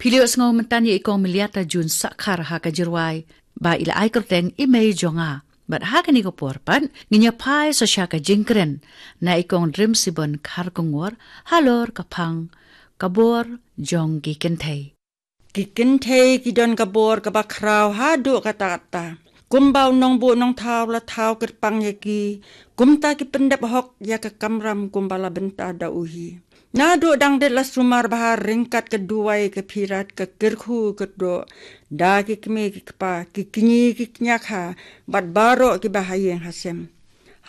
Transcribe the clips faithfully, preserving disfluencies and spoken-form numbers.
Ki la ïohsngew mynta ïa i Kong Meliata Jun Sakhar ha ka jingrwai ba i la ai kyrteng I Mei Jong Nga. Bad ha kane ka por pat ngin ïa phai sa sha ka jingkren na i Kong Rimsibon Kharkongor halor ka phang ka bor jong ki kynthei. Ki kynthei ki don ka bor kaba khraw haduh katta katta. Kumba u nongbuh nongthaw la thaw kyrpang ïa ki, kumta ki pyndep hok ïa ka kamram kumba la bynta da u hi. Naduh dang dep la sumar bha ryngkat ka duwai ka phirat ka kyrkhu kyrdoh da ki kmie ki kpa, ki kñi ki kñia kha bad baroh kiba ha ïing ha sem.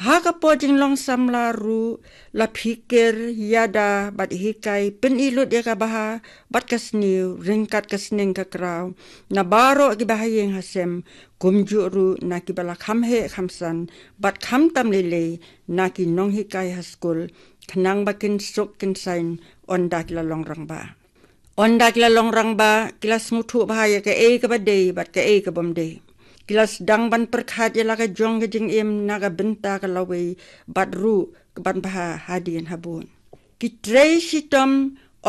Ha ka por jinglong samla ruh la phikir ïada bad hikai pyni lut ïa ka bha bad ka sniew ryngkat ka sneng ka kraw na baroh kiba ha ïing ha sem, kumjuh ruh na kiba la kham heh kham san bad khamtam lei lei na ki nonghikai ha skul, khnang ba kin suk kin saiñ ynda ki la long rangbah. Ynda ki la long rangbah ki la sngewthuh bha ïa kaei kaba dei bad kaei ka bym dei. Ki la sdang ban pyrkhat ïa la ka jong ka jingim na ka bynta ka lawei bad ruh ka ban bha hadien habud. Ki trei shitom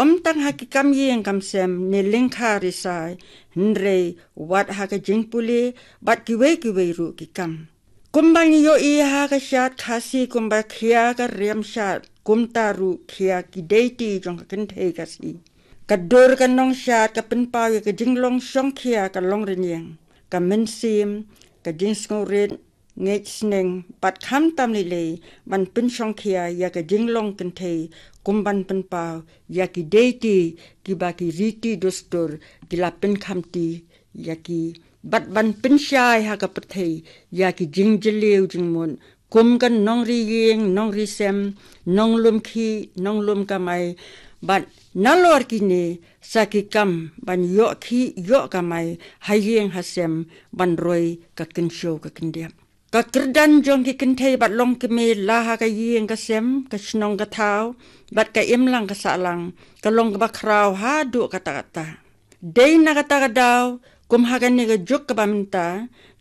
ym tang ha ki kam ïing kam sem ne lyngkha risai, hynrei wat ha ka jingpule bad kiwei kiwei ruh ki kam. Kumba ngi ïohi ha ka shad Khasi kumba khia ka riam shad, kumta ruh khia ki deiti jong ka kynthei Khasi. Ka dur ka nongshad ka pynpaw ïa ka jinglong shongkhia ka long rynïeng, ka mynsiem, ka jingsngewrit, ngeit sneng bad khamtam lei lei ban pynshongkhia ïa ka jinglong kynthei, kum ban pynpaw ïa ki deiti kiba ki riti dustur ki la pynkhamti ïa ki, bad ban pynshai ha ka pyrthei ïa ki jingjylliew jingmut kum ka nongri ïing nongri sem, nonglum khih nonglum kamai, bad nalor kine sa ki kam ban ïoh khih ïoh kamai ha ïing ha sem ban roi ka kynshew ka kyndiap. Ka kyrdan jong ki kynthei bad longkmie la ha ka ïing ka sem, ka shnong ka thaw bad ka imlang ka sahlang ka long kaba khraw haduh katta katta. Dei na kata ka daw, kum ha kane ka juk kaba mynta,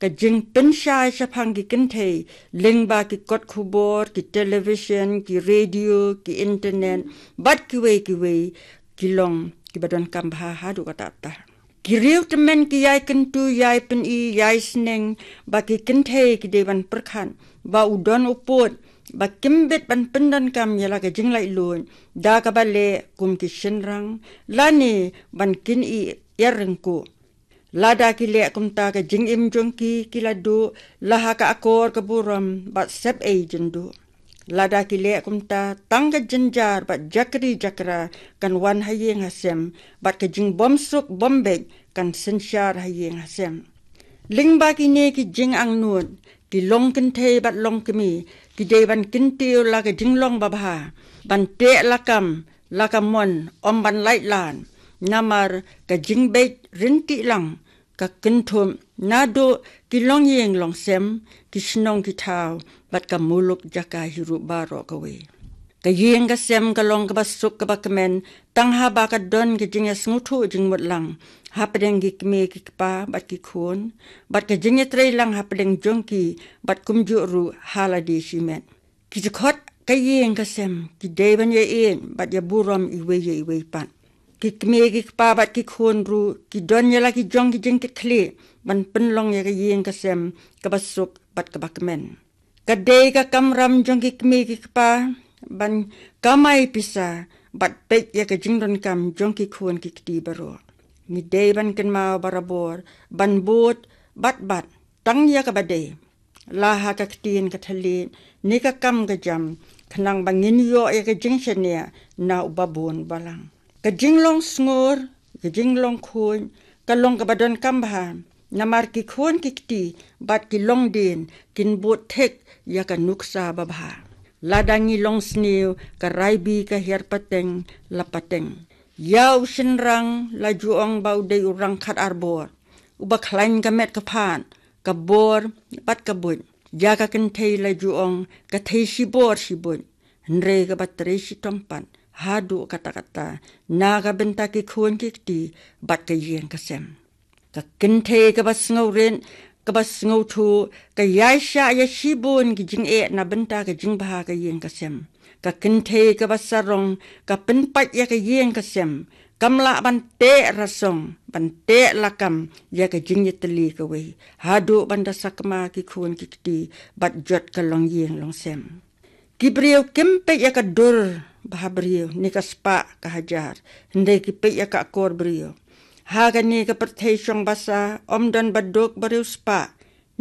ka jingpynshai shaphang ki kynthei lyngba ki kot khubor, ki television, ki radio, ki internet bad kiwei kiwei ki long kiba donkam bha haduh katta katta. Ki riew tymmen ki ïai kyntu, ïai pyni, ïai sneng ba ki kynthei ki dei ban pyrkhat ba u don u pud ba kim bit ban pyndonkam ïa la ka jinglaitluid da kaba leh kum ki shynrang lane ban kin ïa ryngkuh. Lada ki leh kumta ka jingim jong ki ki la duh la ha ka akor ka burom bad sep ei jin duh. Lada ki leh kumta tang ka jynjar bad jakri jakra kan wan ha ïing ha sem bad ka jingbymsuk bymbeit kan synshar ha ïing ha sem. Lyngba kine ki jingangnud, ki longkynthei bad longkmie ki dei ban kyntiew la ka jinglong babha, ban teh lakam la ka mon, ym ban lait lad. Namar ka jingbeit ryntih lang ka kynthup naduh ki longïing longsem, ki shnong ki thaw bad ka muluk jaka hi ruh baroh kawei. Ka ïing ka sem ka long kaba suk kaba kmen tang haba ka don ka jingïasngewthuh jingmut lang hapdeng ki kmie ki kpa bad ki khun, bad ka jingïatreilang hapdeng jong ki bad kumjuh ruh ha lade shimet. Ki dkhot ka ïing ka sem ki dei ban ïaieit bad ïaburom iwei ïa iwei pat. Ki kmie ki kpa bad ki khun ruh ki don ïa la ki jong ki jingkitkhlieh ban pynlong ïa ka ïing ka sem kaba suk bad kaba kmen. Ka dei ka kamram jong ki kmie ki kpa ban kamai pisa bad peit ïa ka jingdonkam jong ki khun ki kti baroh. Ngi dei ban kynmaw barabor ban bud bad bat tang ïa kaba dei, la ha ka ktien ka thylliej ne ka kam ka jam, khnang ba ngin ïoh ïa ka jingshaniah na uba bun balang. Ka jinglong sngur, ka jinglong khuid ka long kaba donkam bha, namar ki khun ki kti bad ki longdien kin bud thik ïa ka nuksa babha. Lada ngi long sniew, ka raibi ka hiar pateng la pateng. Ïa u shynrang la ju ong ba u dei u rangkhat arbor, uba khlaiñ ka met ka phad, ka bor bad ka buit. Ïa ka kynthei la ju ong ka thei shibor shibuit. Hynrei kaba trei shitom pat haduh katta katta na ka bynta ki khun ki kti bad ka ïing ka sem. Ka kynthei kaba sngewrit, kaba sngewthuh ka ïaishah ïa shibun ki jingeh na bynta ka jingbha ka ïing ka sem. Ka kynthei kaba sarong ka pynpait ïa ka ïing ka sem, kam lah ban teh rasong, ban teh lakam ïa ka jingïatylli kawei, haduh ban da sakma ki khun ki kti bad jot ka longïing longsem. Ki briew kim peit ïa ka dur ba ha briew, ne ka spah ka hajar, hynrei ki peit ïa ka akor briew. Ha kane ka pyrthei shong basa, ym don ba duk ba riewspah,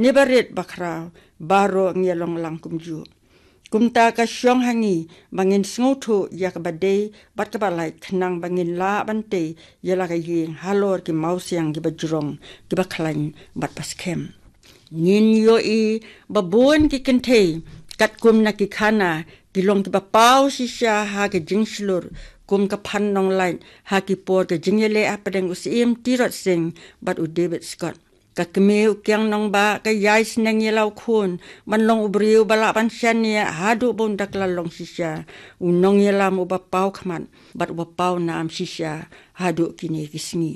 ne ba rit ba khraw, baroh ngi ïa long lang kumjuh. Kumta ka shong ha ngi ba ngin sngewthuh ïa kaba dei bad kaba lait, khnang ba ngin lah ban tei ïa la ka ïing halor ki mawsiang kiba jrong, kiba khlaiñ bad ba skhem. Ngin ïohi ba bun ki kynthei katkum na ki khana ki long kiba paw shisha ha ka jingshlur, kum ka Phan Nonglait ha ki por ka jingïaleh hapdeng u Syiem Tirot Sing bad u David Scott. Ka kmie u Kiang Nangbah ka ïai sneng ïa la u khun ban long u briew ba lah ban shaniah haduh ba un da kylla long shisha, u nongïalam uba paw khmat bad uba paw nam shisha haduh kine ki sngi.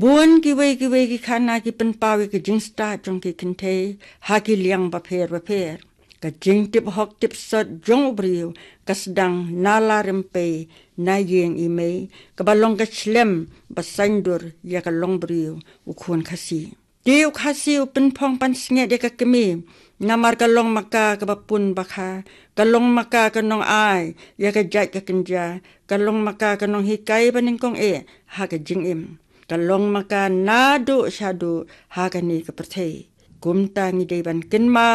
Bun kiwei kiwei ki khana ki pynpaw ïa ki jingstad jong ki kynthei ha ki liang bapher bapher. Ka jingtip hok tip sot jong u briew ka sdang na la rympei, na ïing i mei, kaba long ka shlem ba saiñdur ïa ka longbriew u khun Khasi. Te u Khasi u pynphong pansngiat ïa ka kmie, namar ka long ma ka kaba pun bakha, ka long ma ka ka nongai ïa ka jait ka kynja, ka long ma ka ka nonghikai banyngkong eh ha ka jingim. Ka long ma ka naduh shaduh ha kane ka pyrthei. Kumta ngi dei ban kynmaw